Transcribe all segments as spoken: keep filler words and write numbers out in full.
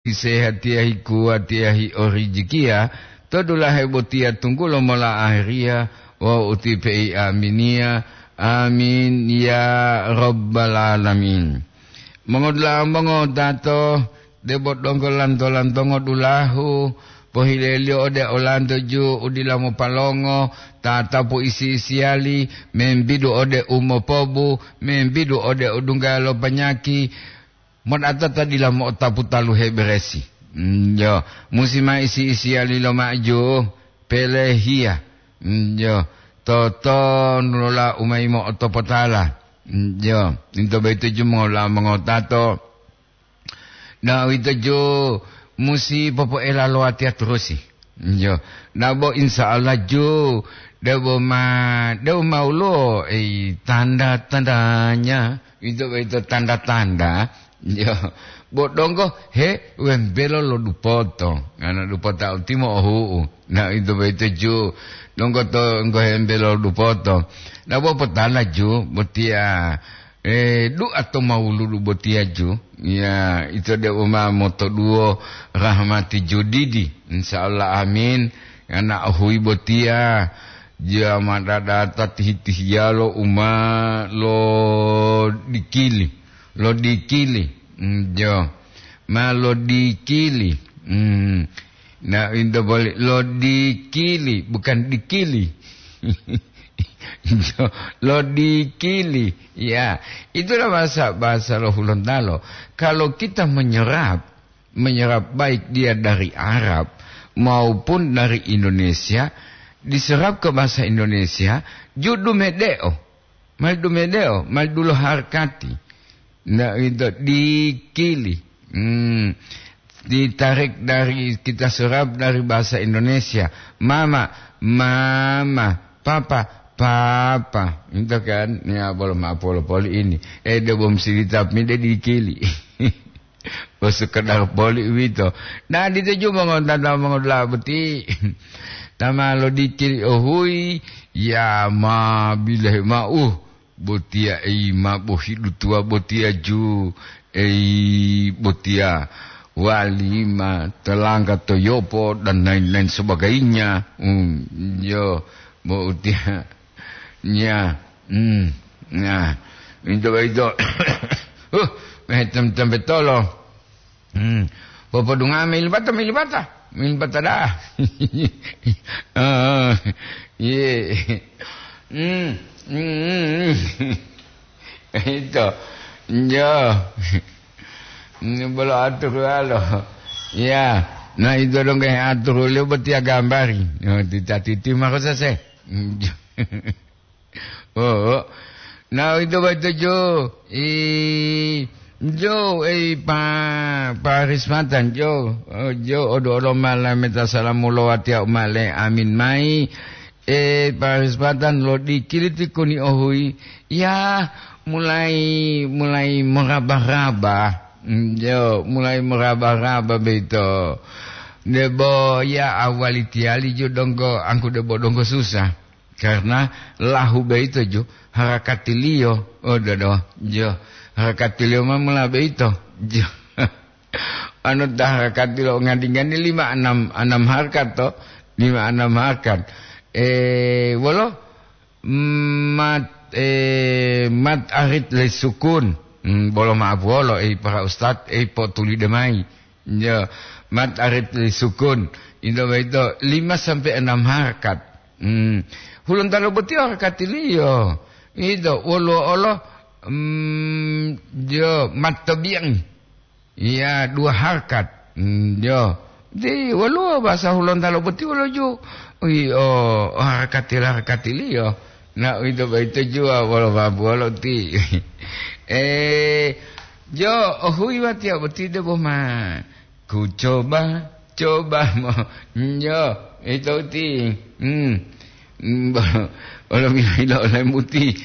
Sehatiya hikuwatiya hiorijikiya to dulahe botiya tunggulo mola aheriya wawu uti pei aminiya. Amin ya rabbal alamin. Mongodula'a mongotato, debo donggo lanto-lantongo dulahu, pohileliyo ode olanto ju u dila mopalongo, tatapu isi-isiyali, membidu ode u mopobu, membidu ode u dungga lo panyaki, modata ta dila mo'otapu taluhe beresi. Mm, jo, musi ma isi-isiyali lo maju, pelehiya. Mm, jo, totonulola u ma yimo'otopotala. Mm, jo, into boyito ju mongola mongotato. Na uwito ju musi popoela lo watiya turusi. Jo, na bo insya Allah ju, debo ma, debo ma ulo, ei, tanda-tandanya. Ito, ito tanda-tanda. Yo, bo donggo he wembelo lo dupoto. Ngana dupota utimo ohu'u. Na ito boyito ju. Donggo to nggo hembelo lo dupoto. Na bo potala ju, botiya, eh, du'a to mawuludu botiya ju. Ya, ito debo ma motoduwo rahmati judidi. Insya Allah, amin. Ngana ohuyi botiya. Jama dadata tihi-tihiyalo u ma lodikili, lodikili, mm, jo, ma lodikili, mm, na into boli lodikili, bukan dikili. Jo, lodikili, ya, itulah bahasa, bahasa lo Hulontalo. Kalau kita menyerap, menyerap baik dia dari Arab maupun dari Indonesia, diserap ke bahasa Indonesia, ju dumedeo, mal dumedeo, mal dulo harkati. Ndak itu dikili. Hmm. Ditarik dari, kita serap dari bahasa Indonesia. Mama, mama, papa, papa. Itu kan, ya, belum apa-apa ini. Eh, dia belum sirita, tapi dia dikili. Bo sekedar poli uwito. Nah, dituju mongontata mongodula'a boti. Tama lodikili ohuyi, ya ma bilahe ma'u. Botiya ei ma bohidu tuwa botiya ju, ei botiya walima, telangga to yopo, dan lain-lain sebagainya. Hmm, yo, bo utiya. Nya, hmm, nah, minto boyito. Huh, metem-tempe tolo. Hmm, popodunga melibata, melibata, melibata dah. Oh, iya. Hmm, hmm, hmm. Itu. Yo. Ini bolo atur walo. Ya. Nah, itu dong kayak atur liyo botiya gambari. Yo, tita-titi mako sese. Oh, na ito boyito jo, i, jo, ei, pa, parismatan jo, oh, jo, odo-odo mala meta salamu lo watiya umale, amin mai, e, parismatan lo dikiliti kuni ohui, ya, mulai, mulai meraba-raba, mm, jo, mulai meraba-raba beito, debo, ya, awali tiyali jo donggo, angku debo donggo susah. Karena lahu boyito ju harakatiliyo, oh, dodo, jo, harakatiliyo ma mula boyito, jo. Anu ta harakatiliyo ngadi-ngadi lima anam, anam harkat to, lima anam harkat. Eh, wolo, mat, eh, mat arit le sukun. Hmm, bolo maaf wolo, eh, para ustad, eh, potulide mai. Ya, mat arit li sukun. Ito boyito lima sampai enam harkat. Hmm. Hulontalo boti harakatiliyo. Ito, woluwo olo, hmm, jo, mat tobiyang. Iya, dua harkat. Hmm, jo. Di, woluwo bahasa Hulontalo boti wolo ju. Ui, o, o harakatila-, harakatiliyo. Na uwito boyito juwa wolo babuwolo ti. Eh, jo, ohuyi watiya boti debo ma ku coba, coba mo, njo, ito ti. Hmm. Hmm, bo-, wolo milo-milo ole muti.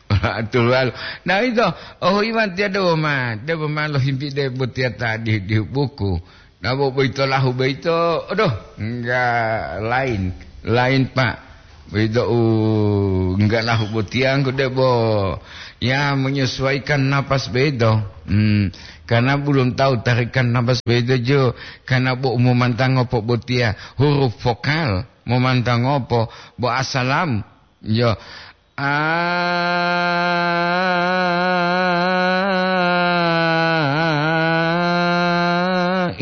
Wolo aturuwalo. Na ito, ohuyi watiya debo ma, debo ma lohimpi debo tiya ta di, di buku. Nabo boyito lahu boyito, aduh, enggak lain, lain, Pak. Boyito u enggak lahu botiya, engko debo, ya, menyesuaikan napas boyito. Hmm, karena belum tahu tarikan nafas begitu jo, karena bo momantangopo botiya huruf vokal, momantangopo bo asalam, yo, a,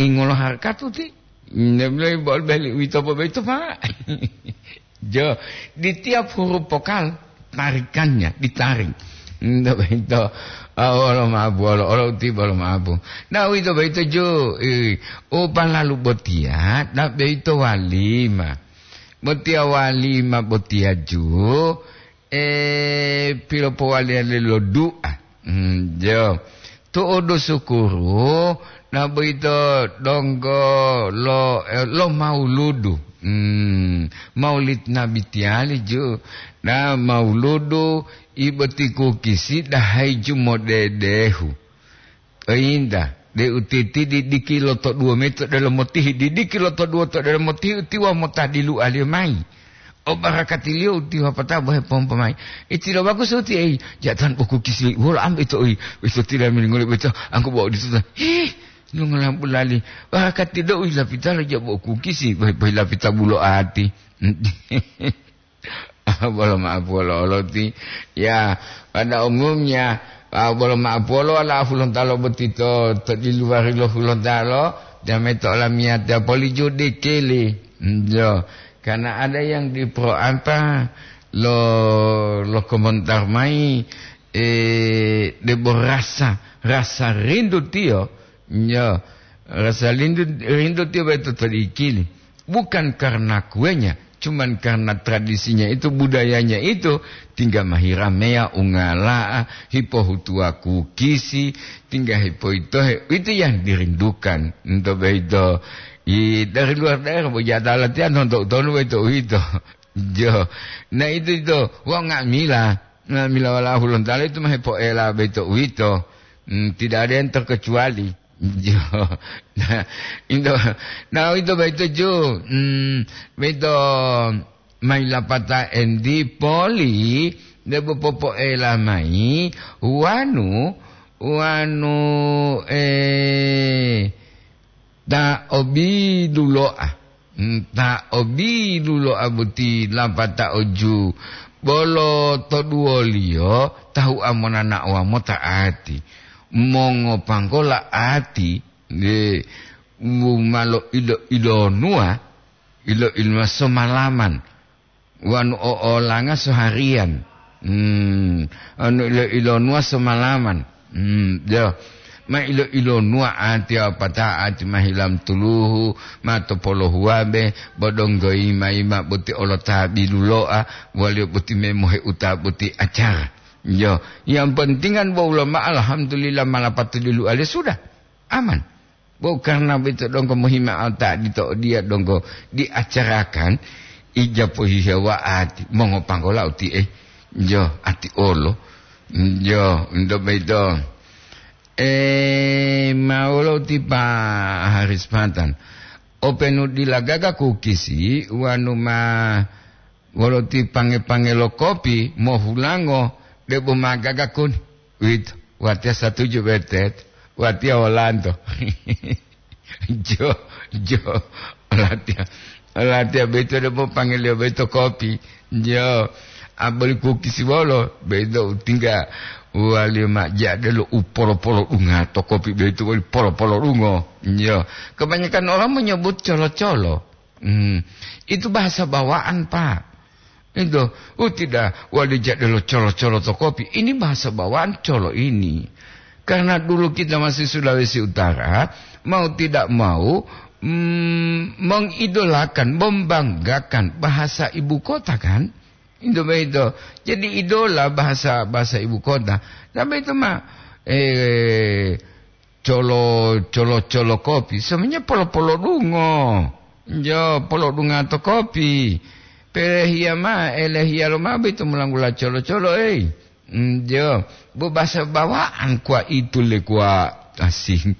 ingolo harkat uti. Nde mulai bol beli uwito bobeito, Pak. Jo, di tiap huruf vokal tarikannya ditarik. Nde begitu. Ah, wolo maabu, wolo, wolo uti, wolo maabu. Nah, uwito boyito ju, eh, o palalu botiya, nah, boyito walima. Botiya walima botiya ju, eh, pilopowaliya lo du'a. Hmm, jo. Tu'udu sukuru, na boyito donggo lo, eh, lo mauludu. Hmm, maulid Nabi tiyali ju. Na mauludu, i boti kukisi dahayi ju modedehu. Oyinta, de utiti didiki lo to duwo mayi to delomo tihi, didiki lo to duwo to delomo tihi, utiwa motadilualiyo mayi. O barakatiliyo utiwa pata bohe pompo mayi. Itilo bagus uti ei, jatan boku kisi, wolo ambe to oi, ito tila miningole beto, angku bawa dituta. Hih, lungola bulali. Barakati do ui lapita lo ja boku kisi, bohe, bohe lapita bulo ati. Bolo ma'apolo oloti. Ya, pada umumnya, ah, bolo ma'apolo ala Hulontalo boti to, to di luar lo Hulontalo, jame to olamiyatiya poli ju dikili. Jo, karena ada yang di pro apa, lo, lo komentar mai, eh, debo rasa, rasa rindu tiyo, Yo, rasa lindu, rindu tiyo boyito to dikili. Bukan karena kuenya, cuman karena tradisinya itu, budayanya itu, tingga mahirameya ungala'a, hipohutuwa kukisi, tingga hipoitohe, itu yang dirindukan. Ento boyito, i, dari luar daerah, bo jatala tiya nonto utonu boyito uwito. Jo, na itu, itu, wau nga'amila. Nga'amila wala Hulontalo itu ma hepoela boyito uwito. Hmm, tidak ada yang terkecuali. Jo. Nah, into, nah, ito boyito ju, mm, boyito mayi lapata endi poli, debo popoela mayi, wanu, wanu, eh, ta obilulo'a. Mm, ta obilulo'a boti lapata oju, bolo to duwoliyo tahu'a monana'owa mota ati. Mongopanggola ati, nggih, u ma loilo-ilonuwa, ilo-ilonuwa somalaman, wanu o olanga sohariyan. Hmm, anu ilo-ilonuwa somalaman. Hmm, yo. Ma ilo-ilonuwa ati apata ati ma hilam tuluhu, ma topolohuwabe, bo donggo yima-yima boti olo ta bilulo'a, waliyo boti memohe uta boti acara. Yo, yang pentingan bo ulama alhamdulillah ma lapatililu'ale sudah. Aman. Bo karna boyito donggo mohima'o ta odito odiya donggo diacarakan, ija pohihewa ati, mongopanggola utiye, jo, ati olo, jo, ento boyito. Eh, ma wolo ti Pa Haris Patan. Openu dila gaga kukisi, wanu ma Wolo ti pange-pange lo kopi mohulango debo magaga kuni. Uwito, watiya satuju betet, watiya wolanto. Jo, jo, latiya, latiya boyito debo pangeliyo boyito kopi. Jo, aboli kukisi wolo, boyito utingga waliyo ma jadelo u polo-polo dunga to kopi boyito woli polo-polo dungo. Jo, kebanyakan orang menyebut colo-colo. Hmm, itu bahasa bawaan, Pak. Itu, oh tidak, wali jadelo colo-colo to kopi. Ini bahasa bawaan colo ini. Karena dulu kita masih Sulawesi Utara, mau tidak mau, mm, mengidolakan, membanggakan bahasa ibu kota, kan? Itu begitu. Jadi idola bahasa, bahasa ibu kota. Tapi itu mah, eh, colo, colo, colo kopi. Semuanya polo-polo dungo. Jo, polo dunga to kopi. Pelehiya ma, elehiya lo ma boyito mulanggula colo-colo, ei. Mm, jo, bo bahasa bawaan kuwa itu le kuwa asing.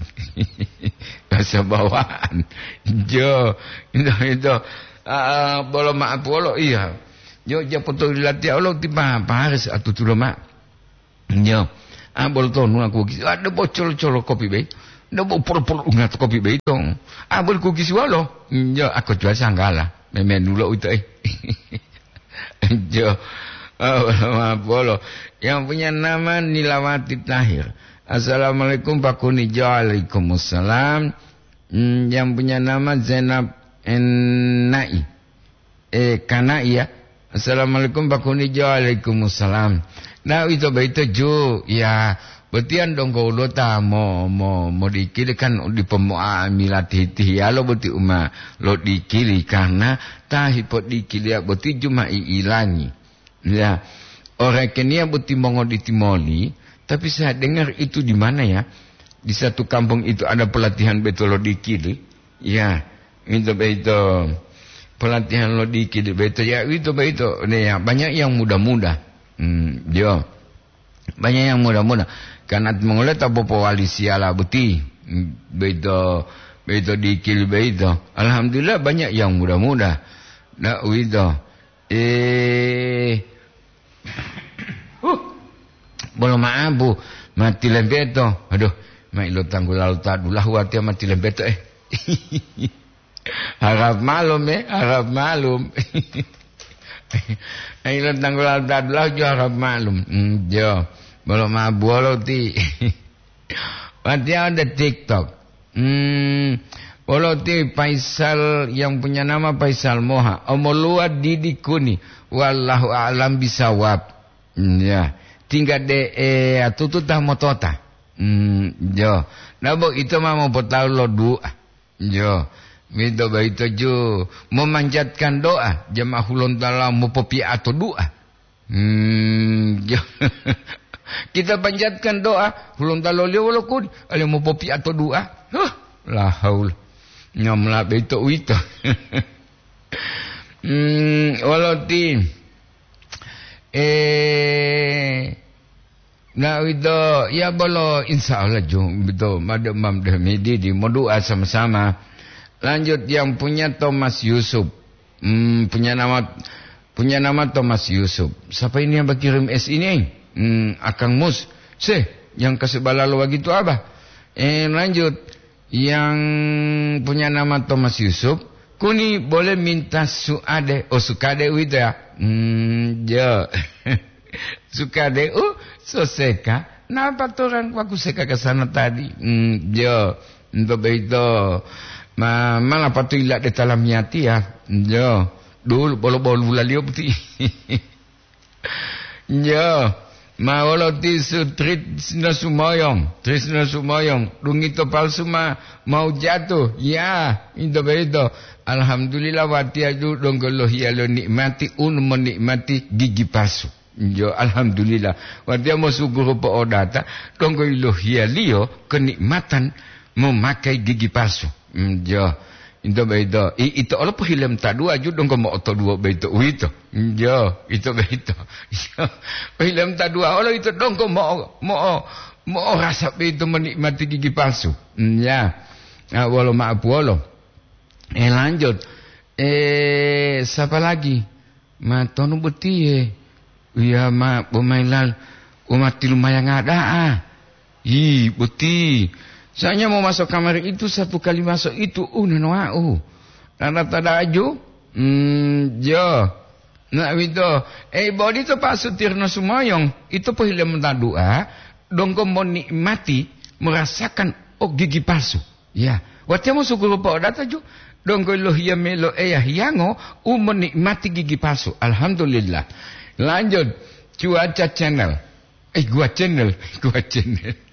Bahasa bawaan. Jo, itu, itu. Ah, bolo ma'apu wolo, iya. Jo, japoto latiya olo ti pa, pa Haris atutulo ma. Nyo, A bolo tonu aku kisi, a debo colo-colo kopi bei. Debo polo-polo ungat kopi bei to. A bolo ku kisi walo. Yo, aku jual sanggala. Memenulo uito, eh. Jo. Ah, bolo. Yang punya nama Nilawati Tahir. "Assalamualaikum, Pak Kuni." Jo, waalaikumsalam. Hmm, yang punya nama Zainab Enai. Eh, Kanai, ya. "Assalamualaikum, Pak Kuni." Jo, waalaikumsalam. Nah, ito baito ju, ya, botiyan donggo ulota mo, mo, modikili kan dipo moa milati tihiyalo boti uma lodikili, karena ta hipodikiliya boti ju ma i'ilangi. Ya, orekeniya boti mongoditi moli, tapi saya dengar itu di mana, ya? Di satu kampung itu ada pelatihan beto lodikili. Ya, itu beito. Pelatihan lodikili beito. Ya, itu beito. Nih, ya, banyak yang muda-muda. Hmm, yo. Banyak yang muda-muda. Karena mongole ta popowali siyala boti. Hmm, beito, beito dikili beito. Alhamdulillah, banyak yang muda-muda. Nah, uwito. Eh, huh, bolo ma'abu, mati lembeto. Aduh, ma ilo tanggulalo ta dulahu watiya mati lembeto, eh. Harap malum, eh, harap malum. Ilo tanggulalo ta dulahu jo harap malum. Hmm, jo. Bolo ma'abu wolo ti. Watiya ode TikTok. Hmm, wolo ti Faisal yang punya nama Faisal Moha. Omoluwa didi kuni. Wallahu a'lam bisawab. Hmm, ya. Tingga de, eh, atutu ta motota. Hmm, jo. Nabo ito ma mopotalu lo du'a. Jo. Mito baito ju. Memanjatkan doa. Jamaah Hulontala mopopiato du'a. Hmm, kita panjatkan doa, Hulontalo liyo wolo kuni, ale mopopiato du'a. Huh, la haula. Nyamla beito uwito. Hmm, wolo ti, eh, na uwito, ya bolo, insya Allah ju, beto, made mam de midi di modu'a sama-sama. Lanjut yang punya Thomas Yusuf. Hmm, punya nama, punya nama Thomas Yusuf. Siapa ini yang berkirim S ini? Hmm, Akang Mus. Seh, yang kasih balalo begitu apa? Eh, lanjut. Yang punya nama Thomas Yusuf, kuni boleh minta suade, oh, sukade uwito ya. Hmm, jo. Sukade, oh, soseka. Napa torang waku seka ke sana tadi? Hmm, jo. Ento beito, ma, mala patu ila de talamiyati ya. Jo, dulu bolo-bolo bulaliyo boti. Jo, ma wolo ti su Trisno Sumoyong, Trisno Sumoyong, dungito palsu ma mau jatuh. Ya, ento beito. Alhamdulillah watiya ju donggo lohiya lo nikmati unu monikmati gigi palsu. Jo, alhamdulillah. Watiya mosukuru po'odata, donggo yilohiyaliyo kenikmatan memakai gigi palsu. Mm, jo. Ito beito. I, ito olo pohilem ta dua ju donggo mo'otoduwo beito uwito. Mm, jo, ito beito. Jo. Pohilem ta dua olo ito donggo mo'o, mo'o, mo'orasa beito menikmati gigi palsu. Mm, ya. Ah, wolo ma'apuwolo. Eh, lanjut. Eh, siapa lagi? Ma tonu botiye? Uya ma bomailal umati lumayanga da'a. Yi, boti. Soalnya mau masuk kamar itu satu kali masuk itu, uh, neno wa'u. Nana tadaju? Hmm, jo. Nah, wito. Eh, bodi to Pak Sutirno Sumoyong, itu pohile menta dua, donggo monikmati, merasakan, oh, gigi palsu. Ya, watiya mosukuru po'odata ju, donggo lohiya me lo Eya Hiyango u monikmati gigi palsu. Alhamdulillah. Lanjut, Cuaca Channel. Eh, Gua Channel, Gua Channel.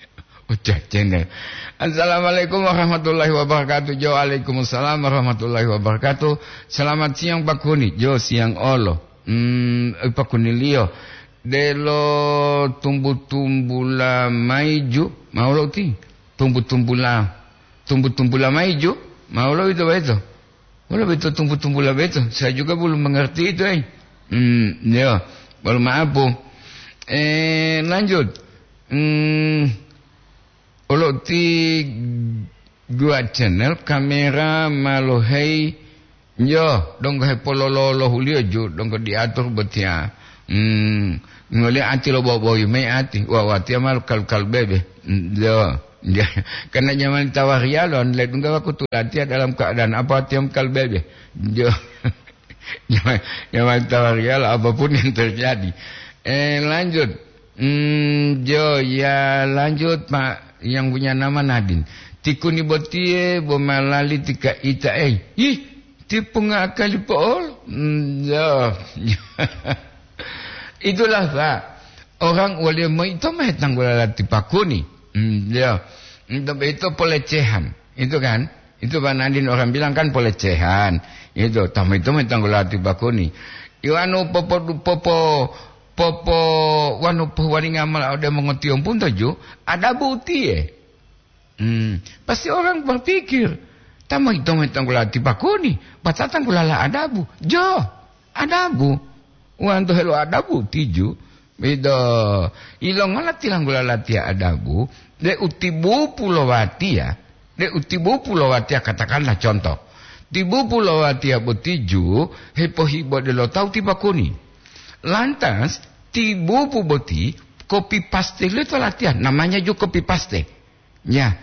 Oca Channel. Assalamualaikum warahmatullahi wabarakatuh. Jo, waalaikumsalam warahmatullahi wabarakatuh. Selamat siang, Pak Kuni. Jo, siang olo. Hmm, eh, Pak Kuni liyo. Delo tumbu-tumbula maiju, mau lo ti? Tumbu-tumbula, tumbu-tumbula maiju, mau lo ito beto? Wolo beto tumbu-tumbula beto? Saya juga belum mengerti itu, eh. Hmm, ya. Mohon maaf, Bu. Eh, lanjut. Hmm, Olo ti Gua Channel kamera ma lohei, yo, donggo hepolololohuliyo ju, donggo diatur botiya. Hmm, ngoli ati lo boboyu mayi ati, wa watiya ma kal-, kalbebe. Hmm, yo. Ya, karena nyaman tawariyalo, ledungga wakutu latiya dalam keadaan apa watiya kalbebe. Yo. Nyaman, nyaman tawariyalo, apapun yang terjadi. Eh, lanjut. Hmm, jo, ya lanjut, Pak, yang punya nama Nadine. Tikuni botiye bo malali tika ita, eh. Ih, tipunga akali po'ol. Hmm, jo. Itulah, Pak. Orang waliyo moito ma hetanggula lati pakuni. Hmm, jo. Untuk itu pelecehan. Itu kan? Itu Pak Nadine orang bilang kan pelecehan. Itu, tama itu ma hetanggula lati pakuni. Iwanu popo, popo, popo, wanu pohuwalinga mala ode mongotiyompunto ju, adabu utiye. Hmm, pasti orang berpikir, "Tama ito ma tanggula tipakuni, bata tanggulala adabu." Jo, adabu. Wanto helo adabu tiju, bido, ilongola tilanggulala tiya adabu, de utibupu lo watiya, de utibupu lo watiya, katakanlah contoh. Tibupu lo watiya botiju, hepohibo de lo tawu tipakuni. Lantas, tibupu boti copy paste lo to latiya, namanya ju copy paste. Ya,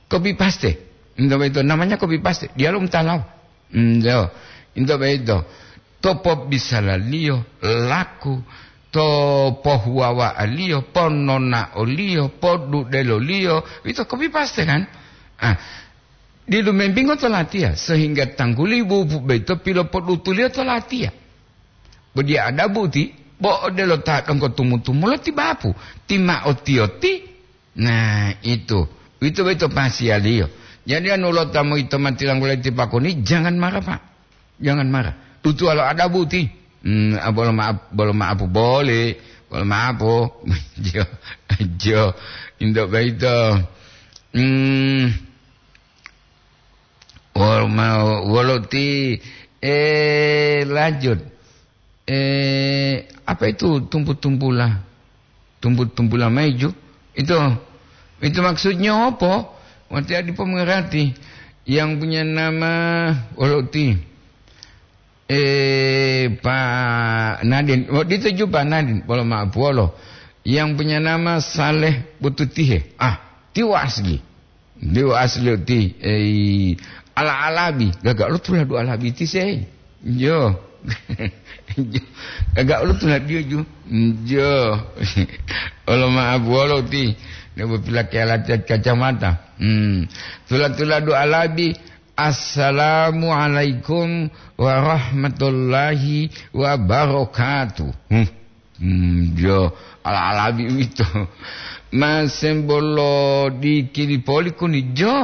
copy paste. Into boyito, namanya copy paste. Diyalu mutalawa. Into, into boyito. To pobisalaliyo, laku, to pohuwawa'aliyo, pononaoliyo, podudeloliyo, ito copy paste kan? Ah, didu membingo to latiya, sehingga tangguli bubu boyito pilopodutuliyo to latiya. Bo diya adabu ti, bo odelo ta donggo tumu-tumulo ti bapu, ti ma'o tiyoti. Nah, itu. Itu boyito pasiyaliyo. Jadi, anu lo tamu yito ma tilanggula ti pakoni, jangan marah, Pak. Jangan marah. Dutuwalo adabu ti. Hmm, ah, bolo maaf, bolo maapu boli. Bolo maapu. Jo, jo. Into boyito. Hmm. Wolo ma-, wolo ti, eh, lanjut. Eh, apa itu tumpu-tumpula? Tumpu-tumpula maiju? Itu, itu maksudnya apa? Wati adi pemerhati yang punya nama wolo ti. Eh, Pak Nadin. Oh, dito ju Pak Nadin. Wolo maaf, wolo. Yang punya nama Saleh Bututihe. Ah, tiwa asli. Dewa asli ti, eh, ala-alabi, gaga lo tuladu alabi ti sei. Jo. Gaga lo tuladu ju. Jo. Olo maaf wolo ti. Nebo pilake alat kacamata. Hmm. Tula-tuladu alabi, "Assalamualaikum warahmatullahi wabarakatuh." Hmm. Hmm, jo, ala-alabi uwito. Ma sembolo dikili poli kuni jo.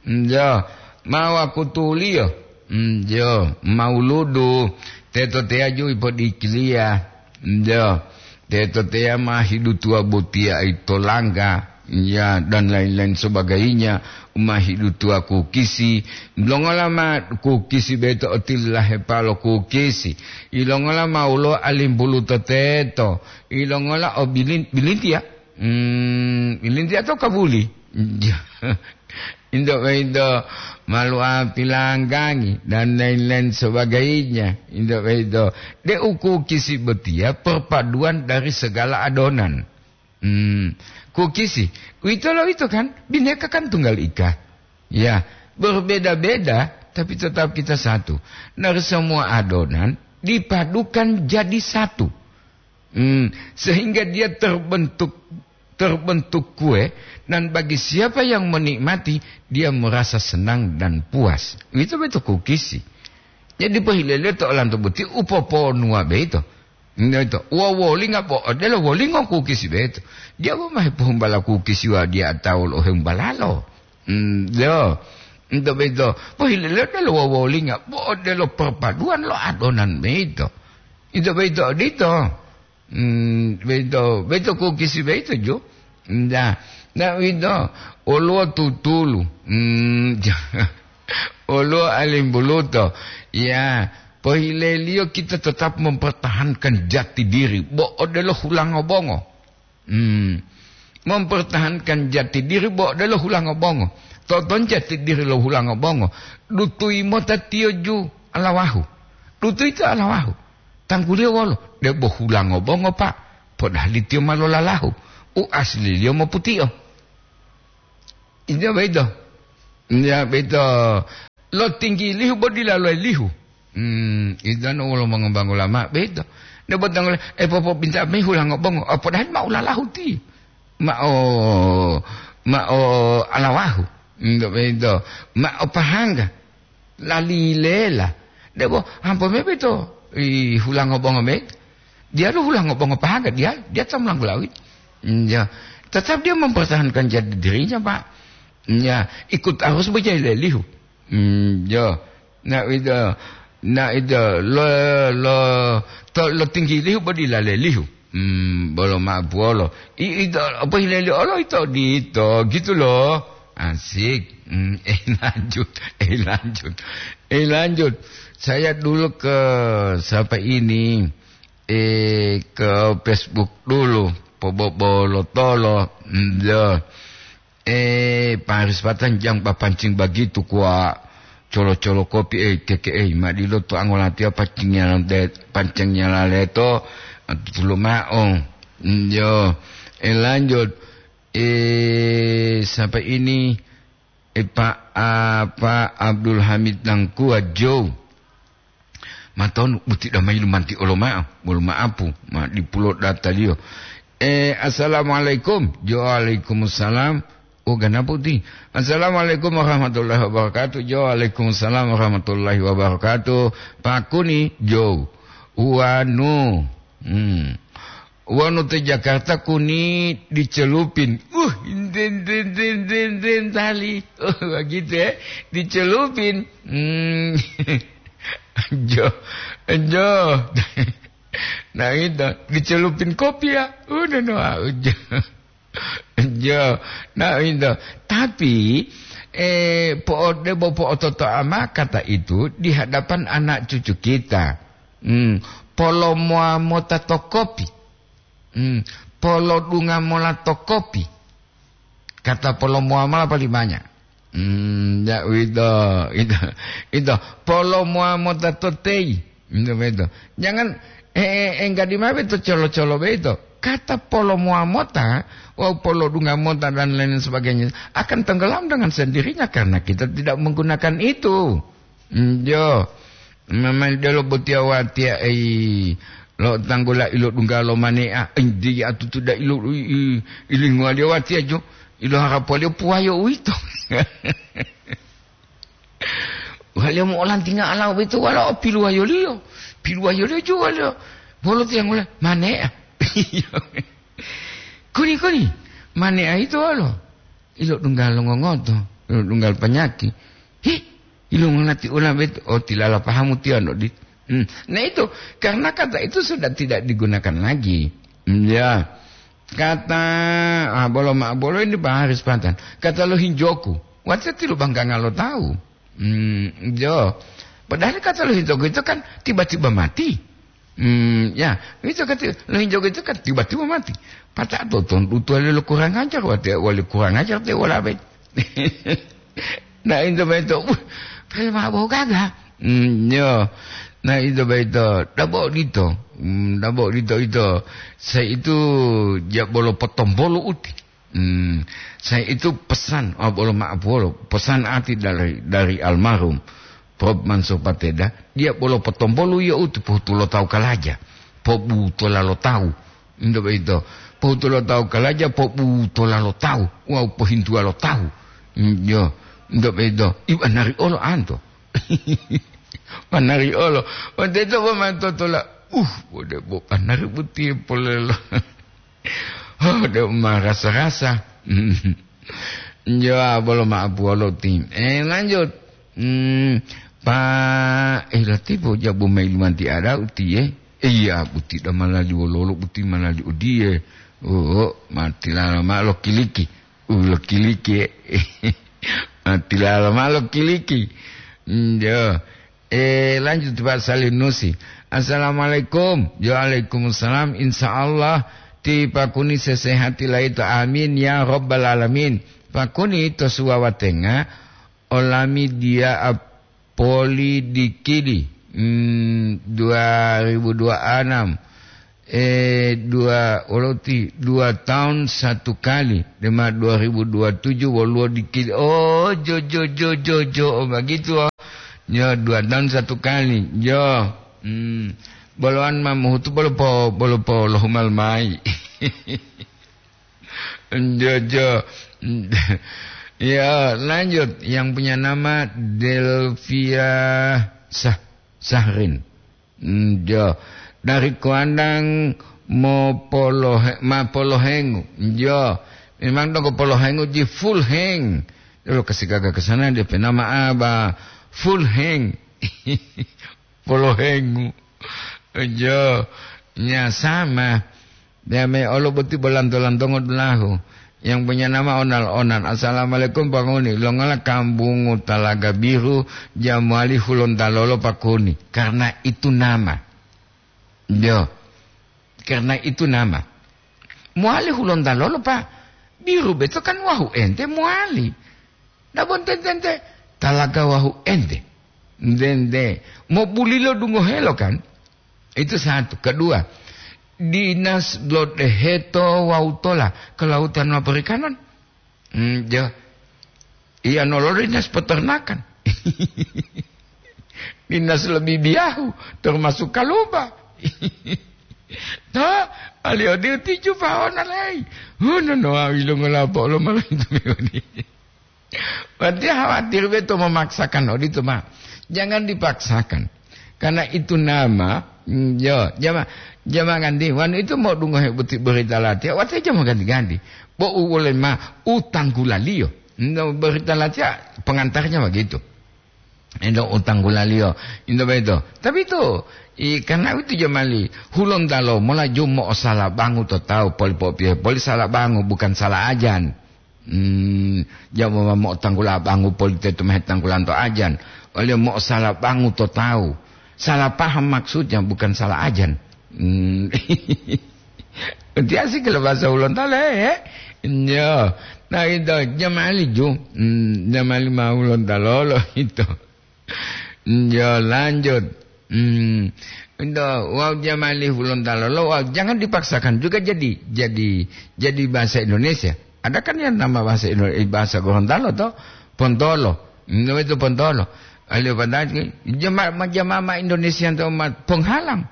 Hmm, jo, ma wakutuliyo. Hmm, jo, ma wuludu. Teto teya ju ipodikiliya. Hmm, jo, teto teya ma hidutuwa botiya ito langga. Ya, dan lain-lain sebagainya, u ma hidutuwa kukisi, longola ma kukisi boyito otilahepa lo kukisi, ilongola ma woluwo alimbuluto teto, ilongola o bilin-, bilintiya, hmm, bilintiya to kabuli. Into boyito maluwa pilanggangi, dan lain-lain sebagainya. Into boyito, de u kukisi botiya perpaduan dari segala adonan. Hmm, kukisi. Uwito lo ito kan, bineka kan tunggal ika. Ya, berbeda-beda, tapi tetap kita satu. Dari semua adonan dipadukan jadi satu. Hmm, sehingga dia terbentuk, terbentuk kue, dan bagi siapa yang menikmati, dia merasa senang dan puas. Uwito boyito kukisi. Jadi pohilele to olanto boti upoponuwa boyito. Nto, wa wolinga bo odelo wolingo kukisi boyito. Diya bo ma hepohumbala kukisi wa diya tawu lo hembalalo. Hmm, yo. Nto boyito, pohilele odelo wa wolinga bo odelo perpaduan lo adonan boyito. Nto boyito odito. Hmm, boyito, boyito kukisi boyito ju. Nda, na uwito, woluwo tutulu. Hmm, woluwo alimbuluto. Ya, pohileliyo kita tetap mempertahankan jati diri. Bo odelo hulango bongo. Hmm. Mempertahankan jati diri bo odelo hulango bongo. Toton jati diri lo hulango bongo. Dutuyi mota tiyo ju alawahu. Dutuyi to alawahu. Tangguliyo wolo? Debo hulango bongo, Pak. Podahali tiyo ma lolalahu. U asliliyo moputio. Ito boyito. Ya, boyito. Lotinggilihu bo dila loelihu. Hmm, ito no wolo mongobango lama, boyito. Debo tanggula, eh, popobinta mayi hulango bongo. Ah, podahali ma ulalahu ti. Ma o, ma o alawahu. Ito boyito. Ma o pahangga. Lali lela. Debo, hampo mebe to, i hulango bongo me. Dia lo hulango bongo pahaga, dia, dia ta mulanggulawi. Ya, tetap dia mempertahankan jati dirinya, Pak. Ya, ikut arus bejai lelihu. Hmm, ya. Na ida, na ida, lo, lo, to, lo tinggi lihu bodi la lelihu. Hmm, bolo ma buolo. I, ito, apa hilali olo ito dito, gitu loh. Asik. Hmm, eh, lanjut, eh, lanjut, eh, lanjut. Saya dulu ke siapa ini, eh, ke Facebook dulu, pobobolo tolo, hmm, ya. Eh, Paris Patang jang papancing bagitu kuwa colo-colo kopi, eh, keke, eh, madilo to angolatiya pancingnya de-, pancingnya laleto, tutulu ma'o. Hmm, yo, eh, lanjut. Eh, siapa ini? Eh, Pak, ah, Pak Abdul Hamid Nangkua Joe. Matonu buti damai lumanti oloma'o, bolo ma'apu, ma dipulo dataliyo. Eh, assalamualaikum. Yo, waalaikumsalam. Oh, ganapu ti. Assalamualaikum warahmatullahi wabarakatuh. Yo, waalaikumsalam warahmatullahi wabarakatuh. Pakuni, Jo. Wanu. Hmm. Wanu te Jakarta kuni dicelupin. Uh, den, den, den, den, den, tali. Oh, begitu ya. Dicelupin. Hmm. Jo, jo. Nah, itu. Dicelupin kopi ya. Udah, no, ah, jo. Jo. Nah, itu. Tapi, eh, po'ode bo po'ototoa ma kata itu di hadapan anak cucu kita. Hmm, polomowa mota to kopi. Hmm, polodunga mola to kopi. Kata polomowa mola palimanya. Hmm, ya, uwito, ito, ito. Polomowa mota to teyi. Ito, ito. Jangan, eh, eh, enggadi mabe to colo-colo beito. Kata polomowa mota, wawu polodunga mota dan lain sebagainya akan tenggelam dengan sendirinya karena kita tidak menggunakan itu. Njo, memang delo botiya watiya, ei, lo tanggula ilo dungga lo mane'a, ei, diya tutu da ilo, i, i, ilinguwaliyo watiya jo, ilo harapuwaliyo puwayo uwito. Waliyo mo'olantinga alawo boyito walao piluwayoliyo, piluwayoliyo jo waliyo. Wolo tiyanggula, mane'a. Kuni, kuni, mane'a yito wolo? Ilo dungga lo ngongoto, ilo dungga lo panyaki. Hi, ilo ngonati ula bet-, oh, tilala pahamu tiyo no dit-, hmm. Nah, itu, karena kata itu sudah tidak digunakan lagi. Hmm, ya. Kata, ah, bolo ma-, bolo ini Pak Haris Pantan. Kata lo hinjoku, watiya tilu bangkanga lo tawu. Hmm, jo. Padahal kata lo hinjoku itu kan tiba-tiba mati. Hmm, ya, itu kata lo hinjoku itu kan tiba-tiba mati. Pata to ton tutuwali lo kurang ajar, watiya wali kurang ajar te wala bet. Nah, itu beto, uh, pele mabo gaga. Hmm, yo. Nah, itu beto, dabo dito. Hmm, dabo dito ito. Saya itu ja bolo potombolo uti. Hmm, saya itu pesan, oh, bolo maaf, bolo. Pesan ati dari, dari almarhum Prof Mansur Pateda, dia bolo potombolo ya uti pohutulo tawu kalaja. Pobutola lo tawu. Ndo beito. Pohutulo tawu kalaja, pobutola lo tawu. Wawu pohintuwa lo tawu. Mm, yo. Ndo beito. Iwa nari olo anto. Panari olo. Wonteto bo mantotola. Uh, bode bo panari boti polelo. Oh, de marasa-rasa. Njo, bolo ma'apu wolo ti. Eh, lanjut. Hmm, pa, eh, latipu jabu mayi lumanti ada utiye. Eh, iya, buti da malali wololo, buti malali odiye. Oh, matilala ma lo kiliki. Uh, lo kiliki. Matilala ma lo kiliki. Njo. Eh, lanjut, Pak Salim Nusi. Assalamualaikum. Waalaikumsalam. Insya Allah, ti pakuni sesehati laito. Amin, ya Rabbal Alamin. Pakuni to suwawatenga, olami dia apoli dikidi. Hmm, dua ribu dua enam. Eh, dua, wolo ti, dua tahun satu kali. Dema dua ribu dua tujuh woluwo dikit. Oh, jo, jo, jo, jo, jo. Oh, begitu, oh. Yo, dua tahun satu kali. Yo. Hmm. Boloan ma mohutu bolo po, bolo po lohumal mai. Jojo. Ya, lanjut. Yang punya nama Delvia Sah-, Sahrin. Hmm, jo. Dari Kuandang mo polohe-, ma polohengu. Jo. Memang donggo polohengu ji full heng. Lo kasi gaga ke sana dia pe nama apa? Full heng. Polohengu. Jo. Nya sama. Dame olo boti bolanto-lantongo dulahu. Yang punya nama Onal-onal. "Assalamualaikum, Pak Kuni. Longola kambungu Talaga Biru, ja mowali Hulontalo lo, Pak Kuni?" Karena itu nama. Yo. Karena itu nama. Mowali Hulontalo lo, Pak. Biru beto kan wahu ente mowali. Nah, bon tentente, talaga wahu ente. Ntente. Mo bulilo dungohelo kan? Itu satu. Kedua, dinas lo deheto wawu tola kelautan ma perikanan. Hmm, jo. Iya, nololo dinas peternakan. Dinas lo bibiyahu, termasuk kalupa. To, ali odi uti jupa ona lei. Huno no awi lo ngolapo lo malah itu meodi. Berarti khawatir beto memaksakan odito, Pak. Jangan dipaksakan. Karena itu nama, mm, yo, jama, jama ganti. Wanu itu mau dungohe boti berita latiya, wate jama ganti-ganti. Bo u wole ma utanggulaliyo. No berita latiya pengantarnya begitu. Endo utanggulaliyo, endo beto. Tapi itu, i, karena itu jamali, Hulontalo mola jumo o sala bangu to tawu, poli popiye, poli sala bangu, bukan sala ajan. Hmm, jamo ma mo'otanggula bangu poli tetu mahe tanggulanto ajan. Oliyo mo'osala bangu to tawu. Salah paham maksudnya, bukan salah ajan. Hmm. Tiasi kalau bahasa Hulontalo, eh? Yo. Nah, itu, jamali ju. Hmm, jamali ma Hulontalo lo itu. Yo, lanjut. Hmm. Ento, wau jamali Hulontalo lo, wau jangan dipaksakan juga jadi, jadi, jadi bahasa Indonesia. Ada kan yang nama bahasa Indo-, eh, bahasa Gorontalo to? Pontolo. Hmm, itu pontolo. Alio padahal jama-, ma-, jama-, ma Indonesia to ma penghalang.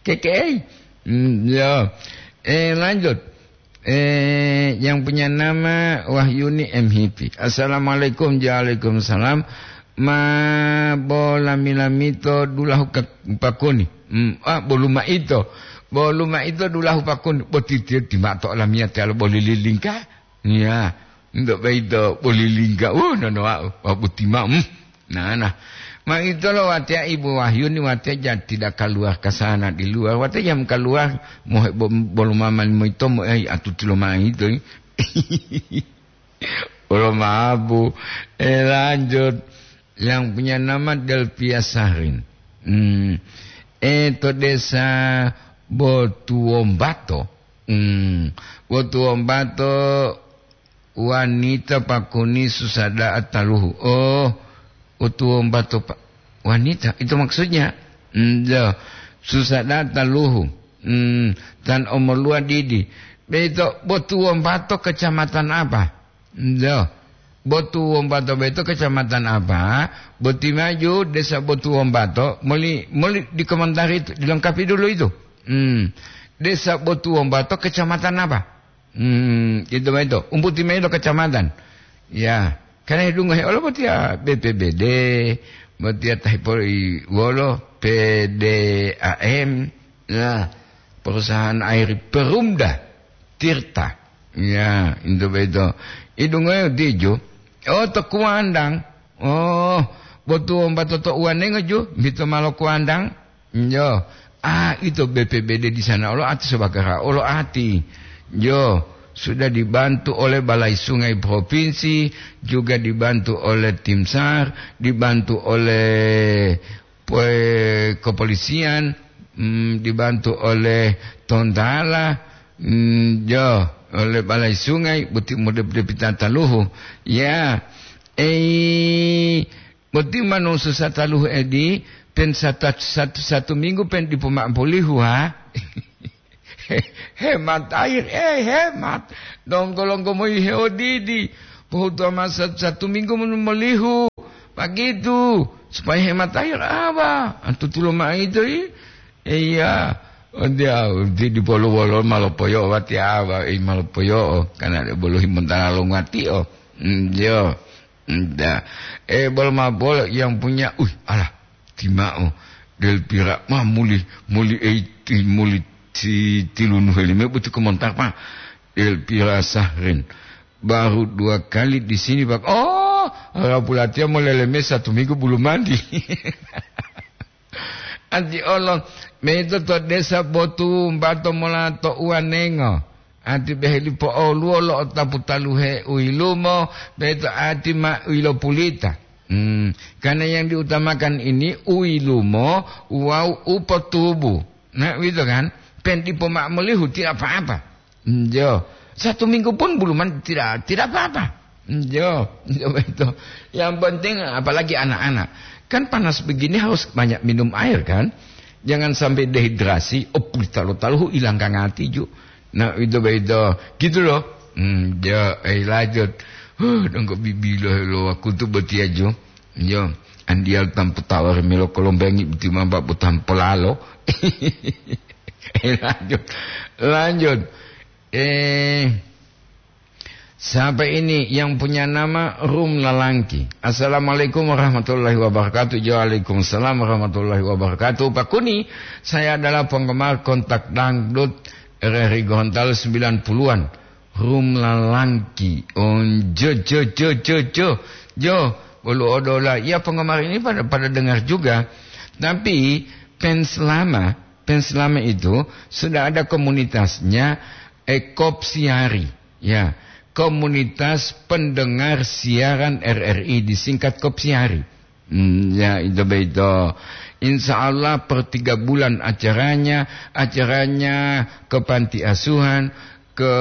Keke'ei. Hmm, ya. Eh, lanjut. Eh, yang punya nama Wahyuni M Hipi. "Assalamualaikum." "Waalaikumsalam." "Ma bo lami-lami to dulahu ka-, pakuni?" Hmm, ah, "Bolu maito." "Bolu maito dulahu pakuni." Boti tiyo timato lamiyati alo boli lilingka. Iya, ndak baito boli lingka. Uh, nono, wa, wa buti ma. Hmm. Nah, nah. Ma ito lo watiya Ibu Wahyuni, watiya ja tidak keluar ke sana di luar. Watiya jam keluar, mohe bo-, bolu mama limo ito, mo, eh, atuti lo ma ito, eh. Bolu mabu. Eh, lanjut. Yang punya nama Delpia Sahrin. Hmm. Eh, to desa Botuwombato. Hmm. Botuwombato Wanita pakuni susah da'a taluhu. Oh, utuwombato pa-, wanita, itu maksudnya. Hmm, ya. Susah da'a taluhu. Hmm, tan omoluwa didi. Beto, Botuwombato kecamatan apa? Hmm, ya. Botuwombato beto kecamatan apa? Boti maju, Desa Botuwombato, moli, moli dikomentari itu, dilengkapi dulu itu. Hmm. Desa Botuwombato kecamatan apa? Hmm, itu ma ito. Umbuti ma ito kecamatan. Ya, karena hedungohe olo botiya B P B D, botiya tahipori wolo P D A M, ya, perusahaan air Perumda Tirta. Ya, itu ma ito. Idungohe tijo. Oh, to Kuandang. Oh, Botuwombato to uwanengo ju, bito malo Kuandang. Yo, ah, itu B P B D di sana olo ati, Sobakara olo ati. Yo, sudah dibantu oleh Balai Sungai Provinsi, juga dibantu oleh Tim SAR, dibantu oleh pe-, kepolisian, mm, dibantu oleh Tontala, mm, yo, oleh Balai Sungai, buti mode-, depita taluhu. Ya, eh, Boti manusu sataluhu edi, pen sata-, satu, satu minggu pen dipo ma'o polihu, ha? Hemat air, eh, hemat. Donggo-longgo moyi heodidi. Pohutuwa masa satu minggu mon-, molihu. Begitu. Supaya hemat air apa? Antutulo ma'o ito, i? Iya. Oh, dia, di, di bolo-bolo ma lopoyo'o, wati awa, i ma lopoyo'o. Karena ada bolo himontala lo ngati'o. Hmm, yo. Nda. Eh, bolo ma bolo yang punya, uh, alah, tima'o. Del pira, ma muli, muli eiti, muli ti, tilunuhe lime buti komontar, Pak. Del pira sahrin. Baru dua kali di sini, Pak. Oh, rapulatiya moleleme satu minggu bulu mandi. Anti olo, meto to desa Botu Mbato mola to Uwanengo. Ati beheli po'oluwo lo otapu taluhe u yilumo, beto ati ma u yilopulita. Hmm, karena yang diutamakan ini u yilumo wawu u potubu. Nah, uwito kan? Pen dipo ma'o molihu, tidak apa-apa. Njo. Satu minggu pun buluman tidak, tidak apa-apa. Njo, njo betul. Yang penting apalagi anak-anak. Kan panas begini harus banyak minum air kan? Jangan sampai dehidrasi, oh, pulita lo taluhu hilang kangati ju. Nah, itu begitu. Gitu loh. Hmm, ya, eh, lanjut. Huh, dongko bibilo lo aku tu betia ju. Yo, andial tampu tawar melo kolombengi boti mamba botang polalo. Eh, lanjut. Lanjut. Eh, siapa ini yang punya nama Rum Lalangki? Assalamualaikum warahmatullahi wabarakatuh. Waalaikumsalam warahmatullahi wabarakatuh. Pak Kuni, saya adalah penggemar kontak dangdut R R I Gorontalo sembilan puluhan. Rum Lalangki. Oh, jo, jo, jo, jo, jo. Jo, bolo odola. Ya, penggemar ini pada, pada dengar juga. Tapi, fans lama, fans lama itu sudah ada komunitasnya, eh, Kopsiari. Ya, komunitas pendengar siaran R R I, disingkat Kopsiari. Hmm, ya, itu begitu. Insya Allah per tiga bulan acaranya, acaranya ke panti asuhan, ke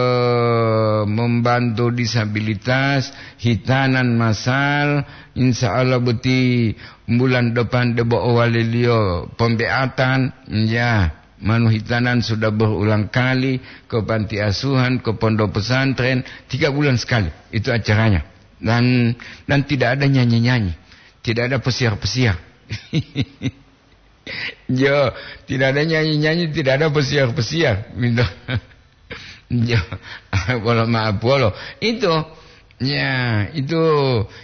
membantu disabilitas, hitanan masal, insya Allah boti bulan depan debo owaliliyo pembeatan, ya, manu hitanan sudah berulang kali ke panti asuhan, ke pondok pesantren, tiga bulan sekali itu acaranya. Dan, dan tidak ada nyanyi-nyanyi, tidak ada pesiar-pesiar. Jo, tidak ada nyanyi-nyanyi, tidak ada pesiar-pesiar. Gitu. Jo, bolo maaf bolo. Itu, ya, itu,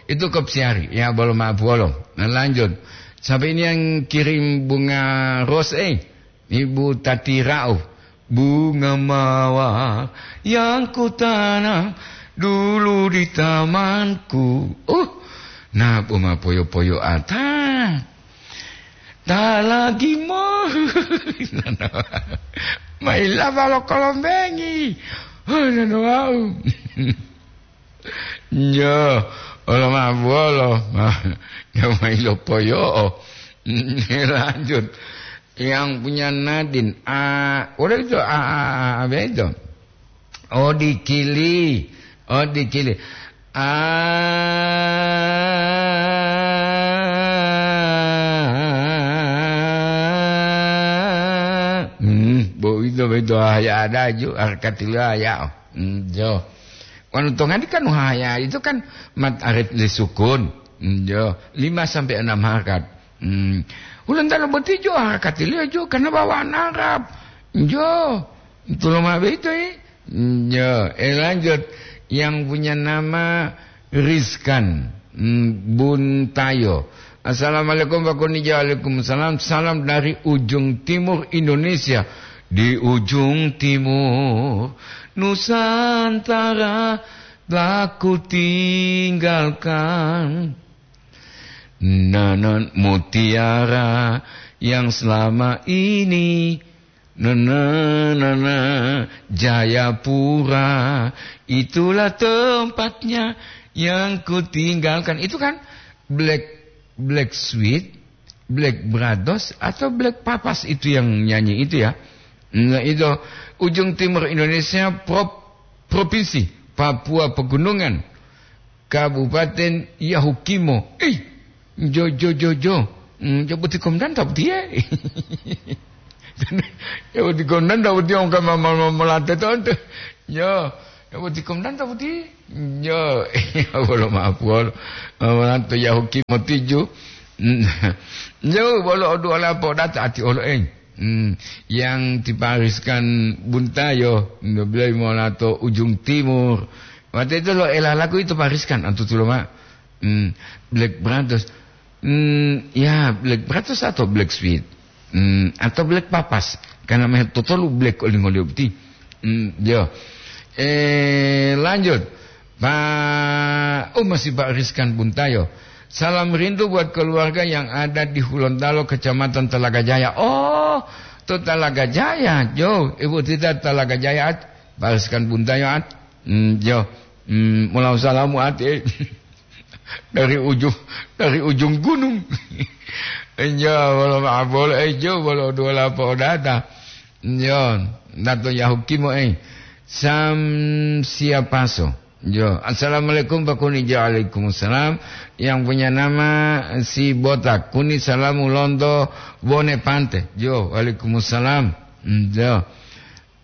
itu Kopsiari. Ya, bolo maaf bolo. Nah, lanjut. Sampai ini yang kirim bunga rose, eh. Ibu Tati Rauf. Bunga mawar yang kutanam dulu di tamanku. Uh, nah, bunga poyo-poyo ata. Ta lagi mo. Maila balo kolombengi. Oh, nano wau. Nyo, olo ma bolo. Nyo mailo poyo'o. Lanjut. Yang punya Nadin. A, udah itu, a, a, a, apa itu? Oh, dikili. Oh, dikili. Ah, hmm, bo itu, bo itu, ah, ya ada ju, harkat dulu, ah, ya. Hmm, jo. Wanu tongadi kan, wah, ya, itu kan mat arit li sukun. Hmm, jo. Lima sampai enam harkat. Hmm. Ulang talo boti jo harkat li jo, karena bawaan Arab. Jo. Itu lo ma begitu, eh. Ya, eh, lanjut. Yang punya nama Rizkan, mm, Buntayo. Assalamualaikum, Pak Kuni. Waalaikumsalam. Salam dari ujung timur Indonesia. Di ujung timur Nusantara telah ku tinggalkan. Nanan mutiara yang selama ini Nana, nana, Jayapura, itulah tempatnya yang kutinggalkan. Itu kan Black, Black Sweet, Black Brothers, atau Black Papas itu yang nyanyi itu ya. Nah, itu ujung timur Indonesia, prop-, provinsi Papua Pegunungan, Kabupaten Yahukimo. Ih, Jo, jo, jo, jo. Hmm, jo boti komandan ta botiye. Jo boti komandan ta botiye, ongka ma, ma, ma, molate tonto. Jo, jo boti komandan ta botiye. Jo, wolo maaf wolo. Molate yahuki motiju. Hmm. Jo, wolo oduola podata ati olo, eh. Hmm, yang ti Pariskan Buntayo, ndoblei mola to ujung timur. Wate itu lo elalaku itu Pariskan, antutulo ma. Hmm, Black Brothers. Hmm, ya, Black Brothers atau Black Sweet. Hmm, atau Black Papas. Karena meh totolu Black olingolio beti. Hmm, yo. Eh, lanjut. Pak, oh, masih Pak Rizkan Buntayo. Salam rindu buat keluarga yang ada di Hulontalo, Kecamatan Talaga Jaya. Oh, to Talaga Jaya, jo. Ibu tita Talaga Jaya, At. Pak Rizkan Buntayo, At. Hmm, jo. Hmm, mulau salamu, At, eh. Dari ujung, dari ujung gunung. Jo, wolo maaf, wolo, eh, jo, wolo dua lapo data. Jo, dato yahukimo, eh. Sam siapaso. Jo, assalamualaikum Pak Kuni. Jo, waalaikumsalam. Yang punya nama si Botak. Kuni salamu lonto Bone Pante. Jo, waalaikumsalam. Hmm, jo.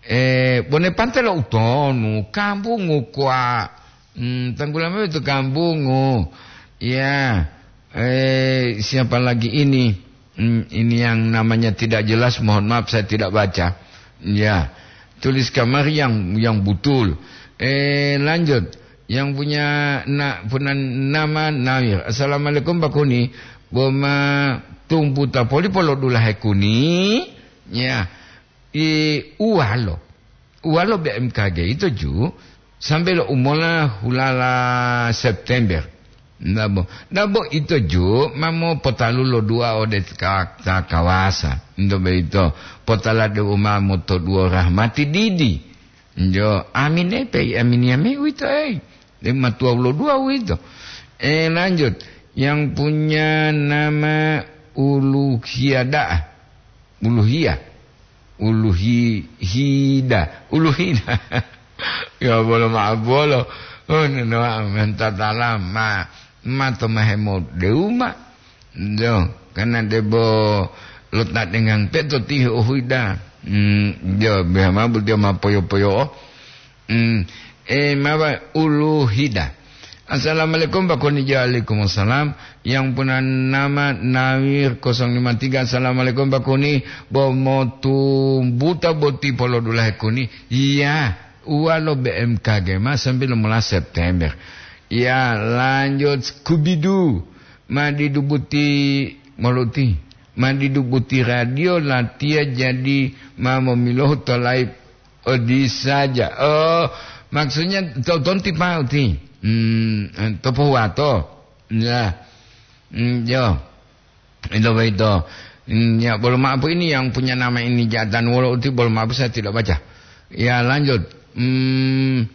Eh, Bone Pante lo utonu, kambungu kwa. Hmm, tanggula mabe itu kambungu. Ya. Eh, siapa lagi ini? Hmm, ini yang namanya tidak jelas, mohon maaf saya tidak baca. Ya. Tulis kamar yang yang betul. Eh, lanjut. Yang punya na, punya nama Nawir. Assalamualaikum Pak Kuni. Boma tumpu tapoli polo dulahe Kuni. Ya. I uwalo. Uwalo B M K G itu ju sampai lo umola hulala September. Nabo, nabo itu ju mamo potalu lo dua ode ka, ka kawasa. Ndo beito potala de umamo to duo rahmati didi. Njo, amin epe, amin yame uwito, eh. De matua ulo dua uwito. Eh, lanjut. Yang punya nama Uluhiada. Uluhia. Uluhi-, hida. Uluhida. Ya, bolo maaf, bolo. Oh, nenoa mentatala ma, ma to mahemo deuma. Jo, karena debo lo ta dengan peto tiho huida. Hmm, jo, biha ma bu dia ma poyo-poyo. Hmm, eh, mawa Uluhida. Assalamualaikum, Pak Kuni. Waalaikumsalam. Yang punya nama Nawir kosong lima tiga. Assalamualaikum, Pak Kuni. Bo motu buta boti polo dulahe Kuni. Iya, uwa lo B M K G ma sampai lima belas September. Ya, lanjut Scooby-Doo. Ma didubuti moluti. Ma didubuti radio latiya jadi ma momilohu to live. Oh, di saja. Oh, maksudnya to-, tonti pauti. Hmm, to pohuwato. Ya. Hmm, yo. Itu begitu. Hmm, ya, belum apa ini yang punya nama ini jatan wolo uti belum apa saya tidak baca. Ya, lanjut. Hmm,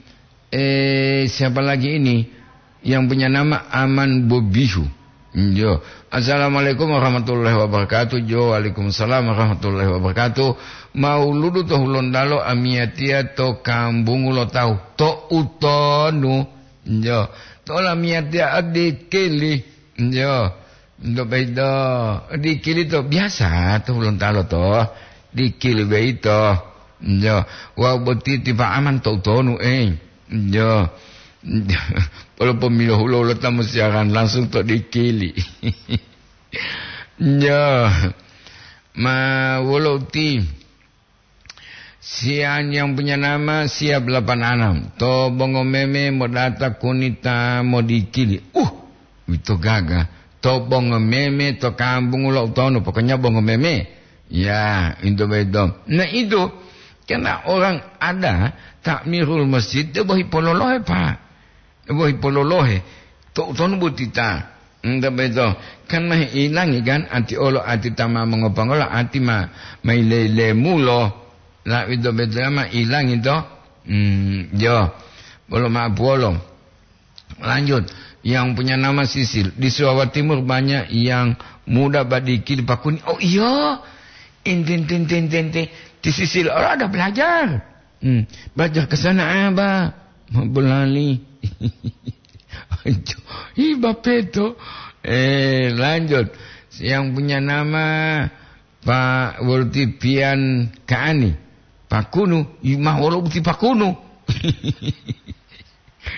eh, siapa lagi ini? Yang punya nama Aman Bobihu. Jo. Assalamualaikum warahmatullahi wabarakatuh. Jo, waalaikumsalam warahmatullahi wabarakatuh. Mauludu to Hulondalo amiyatiya to kambungu lo tawu. To utonu. Jo. To lamiyatiya adikili. Jo. Ndo bedo. Dikili to biasa to Hulontalo to. Dikili beito. Jo. Wau boti tipa Aman to utonu, eh. Jo. Walaupun milo hulo-hulo tamu siaran langsung to dikili. Jo. Ma wolo uti. Sian yang punya nama Siap delapan enam. To bongo meme modata kunita modikili. Uh, ito gaga. To bongo meme to kampung ulo utonu. Pokoknya bongo meme. Ya, itu betul. Nah, itu. Karena orang ada takmirul masjid, dia bohi pololohe, Pak. Bohi pololohe. To utonu botita. Enta beto. Kan ma ilangi kan, ati olo, ati tama mongopangola, ati ma, ma ile-ile mulo. La ito beto ma ilangi to. Hmm, yo. Bolo ma puolo. Lanjut. Yang punya nama Sisil. Di Jawa Timur banyak yang muda badikil pakuni. Oh, iya. Enten, ten, ten, ten, ten. Di Sisil. Oh, ada belajar. Hmm. Belajar ke sana, Abah. Mau berlali. Iba peto. Eh, lanjut. Yang punya nama Pak Wolti Pian Kaani. Pakunu, i-, ma wolo boti pakunu.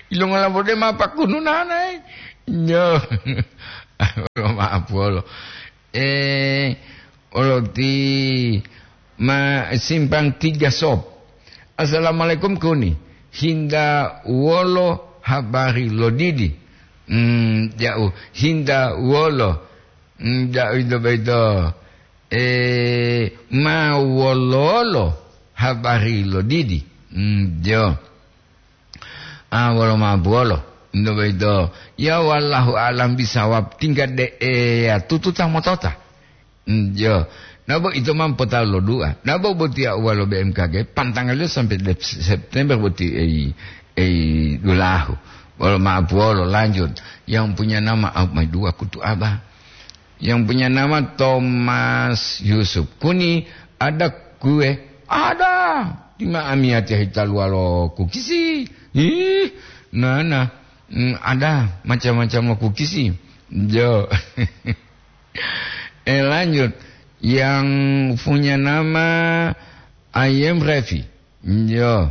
Ilongola bode ma pakunu nanae. Nyo. Maaf wolo. Eh, oloti ma simpang tiga sop. Assalamualaikum kuni. Hinda wolo habari lodidi. Hmm, jauh. Hinda wolo. Hmm, jauh itu beito. Eh, ma wololo habari lodidi. Hmm, jo. Ah, wolo ma buwolo. Ndo boyito, ya wallahu a'lam bisawab, tingga de eya tututa motota. Mm, yo. Nabo ito ma potalo lo dua. Nabo botiya uwa lo B M K G, pantangaliyo sampai de-, September boti ei, ei dulahu. Wolo ma buwolo, lanjut. Yang punya nama, ah, mai dua kutu aba. Yang punya nama Thomas Yusuf. Kuni ada kue? Ada. Tima amiyatiya hitaluwa lo kukisi. Ih, nana. Mm, ada macam-macam lo kukisi. Jo. Eh, lanjut. Yang punya nama Ayem Revi. Jo.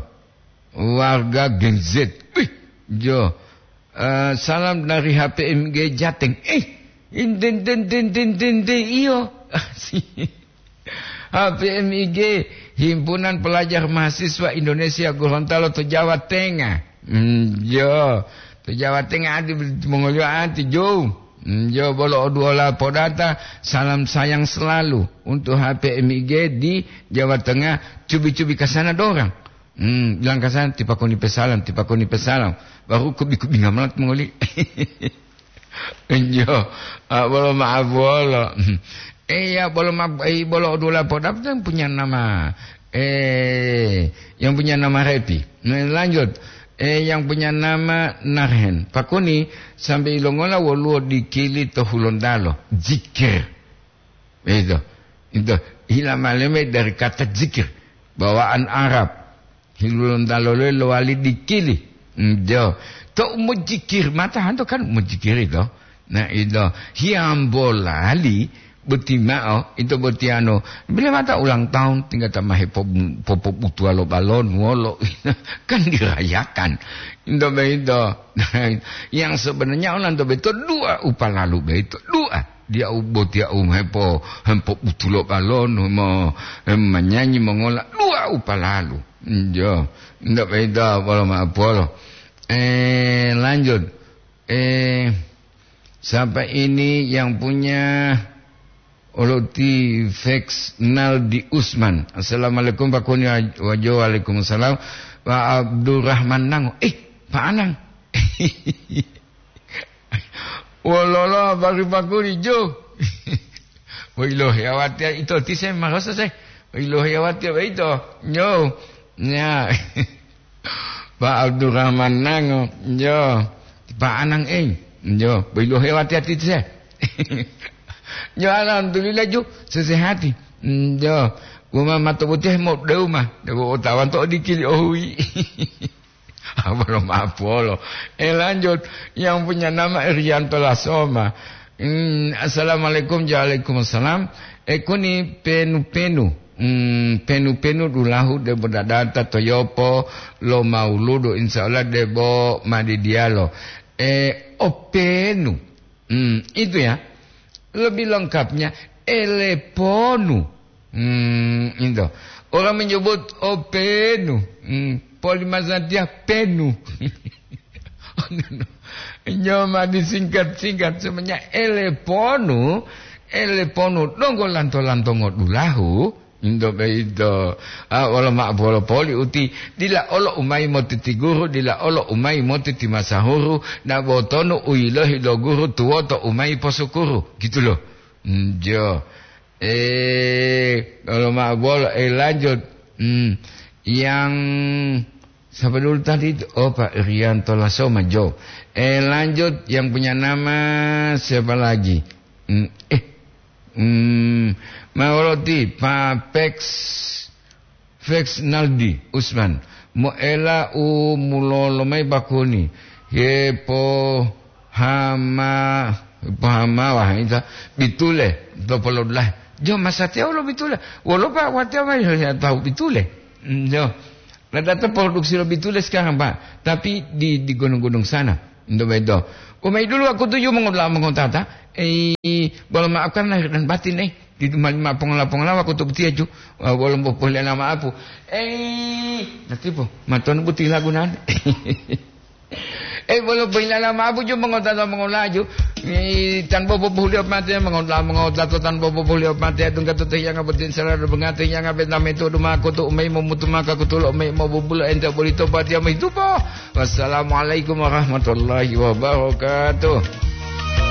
Warga Gen Z. Wih, jo. Eh, salam dari H P M G Jateng. Eh, inten, ten, ten, ten, ten, ten, iyo. H P M I G, Himpunan Pelajar Mahasiswa Indonesia Gorontalo to Jawa Tengah. Hmm, jo. To Jawa Tengah ati mongoliyo ati, jo. Hmm, jo, bolo oduwola podata, salam sayang selalu untuk H P M I G di Jawa Tengah, cubi-cubi kasana dorang. Hmm, bilang kasana, tipakoni pesalam, tipakoni pesalam. Baru kubi-kubi ngamalat mongoli. Iyo, ah, bolo maaf bolo. Eh, ya, bolo maaf, eh, bolo oduwola podata yang punya nama, eh, yang punya nama Repi. Nah, lanjut. Eh, yang punya nama Narhen. Pakuni, sampai ilongola woluwo dikili to Hulontalo. Zikir. Itu. Itu. Hila maleme dari kata zikir. Bawaan Arab. Hilulontalo lowali dikili. Njo. To mojikir, mata hanto kan mojikir itu. Nah, itu. Hiyambolali, boti mao, itu boti anu. Bila mata ulang tahun, tinggal ta mahe po-, popobutuwa lo balon, wolo. Kan dirayakan. Itu begitu. Yang sebenarnya orang itu betul dua upalalu begitu. Dua. Dia u-, boti au hepo-, hempobutulo balon, mo-, em, menyanyi mongola. Dua upalalu. Njo. Ndak beda, polo ma-, polo. Eh, lanjut. Eh, siapa ini yang punya oloti Fex Naldi Usman? Assalamualaikum, Pak Kuni. Wajo, waalaikumsalam. Pak Abdurrahman Nango. Eh, Pak Anang. Wololo habari Pak Kuni, Jo? Woilohe awatiya ito tise marosa se. Woilohe awatiya baito. Nyo. Nya. Pak Abdurrahman Nango. Nyo. Pak Anang, eh. Nyo. Woilohe awatiya tise. Nyo, alhamdulillah, Jo. Sesehati. Nyo. Wuma mato botih mo deuma. Dewa otawan to odikili ohui. Apa lo mapolo? Eh, lanjut. Yang punya nama Irianto Lasoma. Hmm, assalamualaikum, waalaikumsalam. Eh, kuni penu-penu. Hmm, penu-penu dulahu debo dadata to yopo lo mauludu, insya Allah debo madidiyalo. Eh, openu. Hmm, itu ya. Lebih lengkapnya, eleponu. Hmm, itu. Orang menyebut, "Oh, penu." Hmm, polimazatiya penu. Nyoma disingkat-singkat, sebenarnya eleponu, eleponu donggo lanto-lanto ngodulahu. Into boyito, a, wolo ma'o bolo poli uti, dila olo umayi motiti guru, dila olo umayi motiti masahuru, na botonu u yilohi lo guru tuwoto umayi posukuru, gitu loh. Hmm, jo. Eh, wolo ma'o bolo, eh, lanjut. Hmm, yang siapa dulu tadi itu? Oh, Pak Irianto Lasoma, jo. Eh, lanjut, yang punya nama siapa lagi? Hmm, eh, Hmm, ma woloti Pak Pex, Fex Naldi Usman, moela u mulolo mayi bakoni, hepohama-, Pahamawa, ita bitule, to polodulahe. Jo, masatiya wolo bitule. Wolo pa watiya ma yo tahu bitule. Mm, jo. Ada to produksi lo bitule sekarang, Pak. Tapi di, di gunung-gunung sana. Ndo bedo. Umai dulu aku tuju mengola mengotata. Eh, boleh maafkan lahir dan batin, eh. Di mali ma pongola-pongola aku tu betia ju. Ah, boleh boleh nama apa. Eh, nanti po. Maton buti lagunan. Eh, bolo pohilala ma'o buju mongotata mongolaju. Eh, tanpa popohuliyo pate, mongota-, mongotato tanpa popohuliyo pate, tungga to hiyanga botin sara do bangate hiyanga benta meto duma kutu umai momutu maka kutulo umai mobubulo ente bolito patia mohitupo. Wassalamualaikum warahmatullahi wabarakatuh.